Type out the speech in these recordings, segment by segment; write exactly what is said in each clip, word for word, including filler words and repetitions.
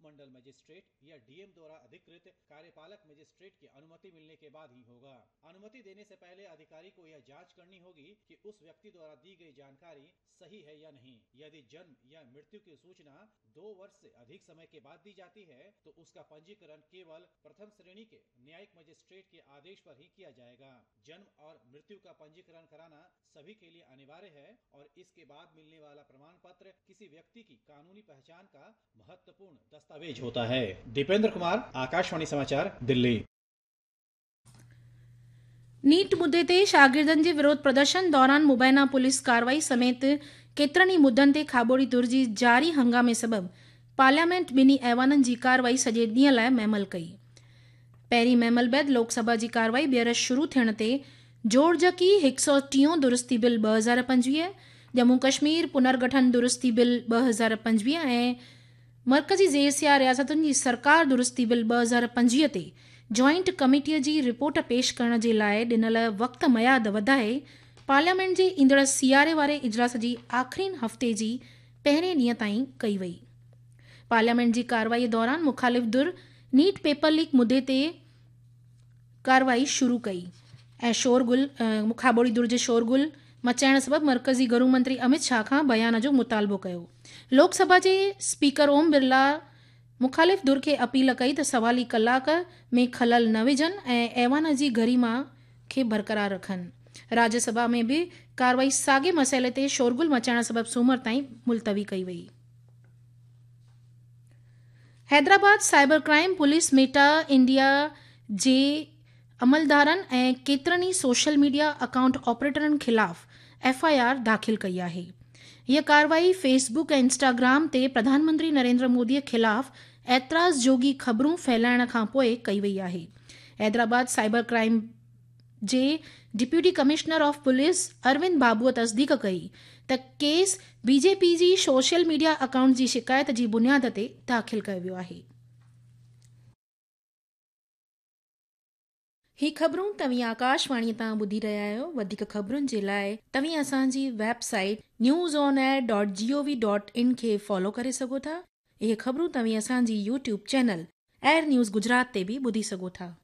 उपमंडल मजिस्ट्रेट या डीएम द्वारा अधिकृत कार्यपालक मजिस्ट्रेट की अनुमति मिलने के बाद ही होगा। अनुमति देने से पहले अधिकारी को यह जांच करनी होगी कि उस व्यक्ति द्वारा दी गई जानकारी सही है या नहीं। यदि जन्म या मृत्यु की सूचना दो वर्ष से अधिक समय के बाद दी जाती है तो उसका पंजीकरण केवल प्रथम श्रेणी के न्यायिक मजिस्ट्रेट के आदेश पर ही किया जाएगा। जन्म और मृत्यु का पंजीकरण कराना सभी के लिए अनिवार्य है और इसके बाद मिलने वाला प्रमाण पत्र किसी व्यक्ति की कानूनी पहचान का महत्वपूर्ण दस्तावेज होता है। दीपेंद्र कुमार, आकाशवाणी समाचार, दिल्ली। नीट मुद्दे ते शागिर्दनि जे विरोध प्रदर्शन दौरान मुबैना पुलिस कार्रवाई समेत केतिरनि ई मुद्दनि ते खाबोड़ी धुर जी जारी हंगामे सबबि पार्लियामेंट ॿिन्ही ऐवाननि जी कार्रवाई सॼे ॾींहं लाइ महमल कई। पहिरीं महमल बाद लोकसभा जी कार्रवाई ॿीहर शुरू थियण ते जोड़जकी हिकु सौ टीहों दुरुस्ती बिल ॿ हज़ार पंजवीह, जम्मू कश्मीर पुनर्गठन दुरुस्ती बिल ॿ हज़ार पंजवीह ऐं मर्कज़ी ज़ेर रियासतुनि जी सरकार दुरुस्ती बिल ॿ हज़ार पंजवीह ते जॉइंट कमेटीअ जी रिपोर्ट पेश करण जे लाइ ॾिनल वक़्त मयाद वधाए पार्लियामेंट जे ईंदड़ सियारे वारे इजलास जी आख़िरीन हफ़्ते जी पहिरें ॾींहं ताईं कई वई। पार्लियामेंट जी कार्रवाई दौरान मुखालिफ़ धुर नीट पेपर लीक मुद्दे ते कार्रवाई शुरू कई ऐं शोरगुल खाबोड़ी धुर जे शोरगुल मचाइण सबबि मर्कज़ी घरू मंत्री अमित शाह खां बयान जो मुतालबो कयो। लोकसभा जे स्पीकर ओम बिरला मुखालिफ़ धुर खे अपील कई त सवाली कलाक में खलल न विझनि ऐं ऐवान जी गरिमा खे बरक़रार रखनि। राज्यसभा में बि कार्रवाई साॻे मसइले ते शोरगुल मचाइण सबबि सूमर ताईं मुलतवी कई वई। Hyderabad cyber crime police Meta India जे अमलदारनि ऐं केतिरनि ई सोशल मीडिया अकाउंट ऑपरेटरनि ख़िलाफ़ एफ I R दाख़िल कई आहे। हीअ कार्रवाई फेसबुक ऐं इंस्टाग्राम ते प्रधानमंत्री नरेंद्र मोदीअ ख़िलाफ़ एतिराज़ जोगी ख़बरूं फैलाइण खां पोइ कई वई आहे। Hyderabad cyber crime J deputy commissioner of police Arvind बाबूअ तस्दीक कई त केस बीजेपी जी सोशल मीडिया अकाउंट जी शिकायत जी बुनियाद ते दाख़िल कयो वियो आहे। ही ख़बरूं तव्हीं आकाशवाणी तां ॿुधी रहिया आहियो। वधीक ख़बरुनि जे लाइ तव्हीं असांजी website news on air dot G O V dot in खे फॉलो करे सघो था। इहे ख़बरूं तव्हीं असांजी YouTube channel air news Gujarat ते बि ॿुधी सघो था।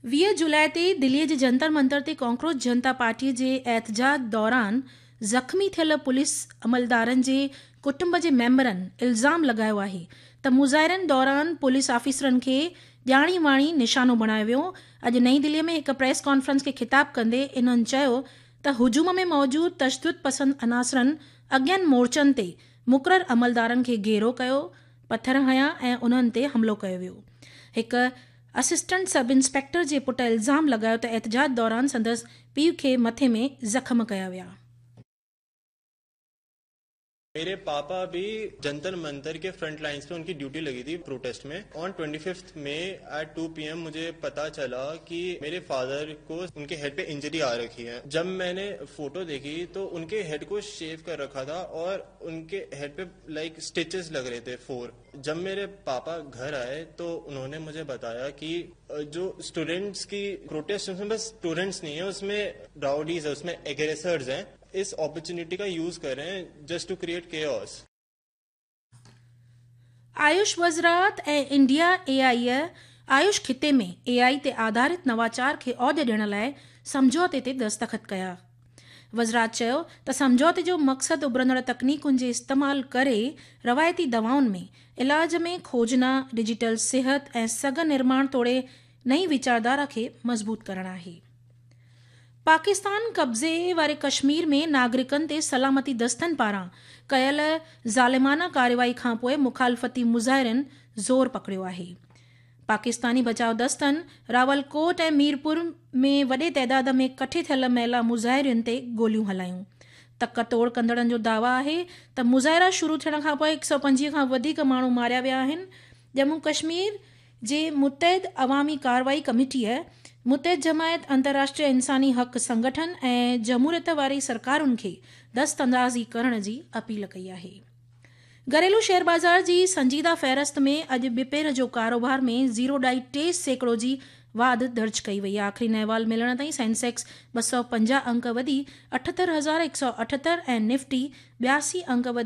वीह जुलाई ते दिल्लीअ जे जंतर मंतर ते कॉकरोच जनता पार्टीअ जे एहतजाज दौरान ज़ख़्मी थियल पुलिस अमलदारनि जे कुटुंब जे मेंबरनि इल्ज़ाम लॻायो आहे त मुज़ाहिरनि दौरान पुलिस ऑफिसरनि खे ॼाणी वाणी निशानो बणायो वियो। अॼु नई दिल्लीअ में हिकु प्रेस कॉन्फ्रेंस खे ख़िताब कंदे इन्हनि चयो त हुजूम में मौजूद तशदुद पसंद अनासरनि अॻियनि मोर्चनि ते मुक़ररु अमलदारनि खे घेरो कयो, पथर हयां ऐं उन्हनि ते हमलो कयो वियो। हिकु असिस्टेंट सब इंस्पेक्टर जे पुट इल्ज़ाम लॻायो त एहतजाज दौरान संदसि पीउ खे मथे में ज़ख़्म कया विया। मेरे पापा भी जंतर मंतर के फ्रंट लाइंस पे उनकी ड्यूटी लगी थी प्रोटेस्ट में। On twenty fifth May at two P M मुझे पता चला कि मेरे फादर को उनके हेड पे इंजरी आ रखी है। जब मैंने फोटो देखी तो उनके हेड को शेव कर रखा था और उनके हेड पे लाइक स्टिचेस लग रहे थे फोर। जब मेरे पापा घर आए तो उन्होंने मुझे बताया कि जो स्टूडेंट्स की प्रोटेस्ट उसमें बस स्टूडेंट्स नहीं है, उसमें राउडीज है, उसमें एग्रेसर्स हैं, इस अपॉर्चुनिटी का यूज कर रहे हैं just to create chaos. Ayush वज़ारत ऐं इंडिया ए आई आयुष ख़िते में ए आई ते आधारित नवाचार खे औज ॾियण लाइ सम्झौते ते दस्तख़त कया। वज़ारत चयो त सम्झौते जो मक़सदु उभरंदड़ तकनीकुनि जे इस्तेमाल करे रवायती दवाउनि में इलाज में खोजना, डिजिटल सिहत ऐं सघ निर्माण तोड़े नई वीचारधारा खे मज़बूत करणु आहे। पाकिस्तान कब्ज़े वारे कश्मीर में नागरिकनि ते सलामती दस्तनि पारां कयल ज़ालिमाना कार्रवाई खां पोइ मुखालफ़ती मुज़ाहिरनि ज़ोर पकड़ियो आहे। पाकिस्तानी बचाव दस्तनि रावलकोट ऐं मीरपुर में वॾे तइदाद में कठे थियल महिला मुज़ाहिरियुनि ते गोलियूं हलायूं। तक तोड़ कंदड़नि जो दावा आहे त मुज़ाहिरा शुरू थियण खां पोइ हिकु सौ पंजवीह खां वधीक माण्हू मारिया विया आहिनि। जम्मू कश्मीर जे मुतहद अवामी कार्रवाई कमेटीअ मुतहद जमायत, अंतर्राष्ट्रीय इंसानी हक़ संगठन ऐं जमहूरियत वारी सरकारुनि खे दस्त अंदाज़ी करण जी अपील कई आहे। घरेलू शेयर बाज़ार जी संजीदा फ़हरिस्त में अॼु ॿिपहर जो कारोबार में ज़ीरो ॾाई टे सैकड़ो जी वाध दर्ज कई वई। आख़िरी अहवाल मिलण ताईं सेंसेक्स ॿ सौ पंजाह अंक वधी अठहतरि हज़ार हिकु सौ अठहतरि ऐं निफ्टी ॿियासी अंक वधी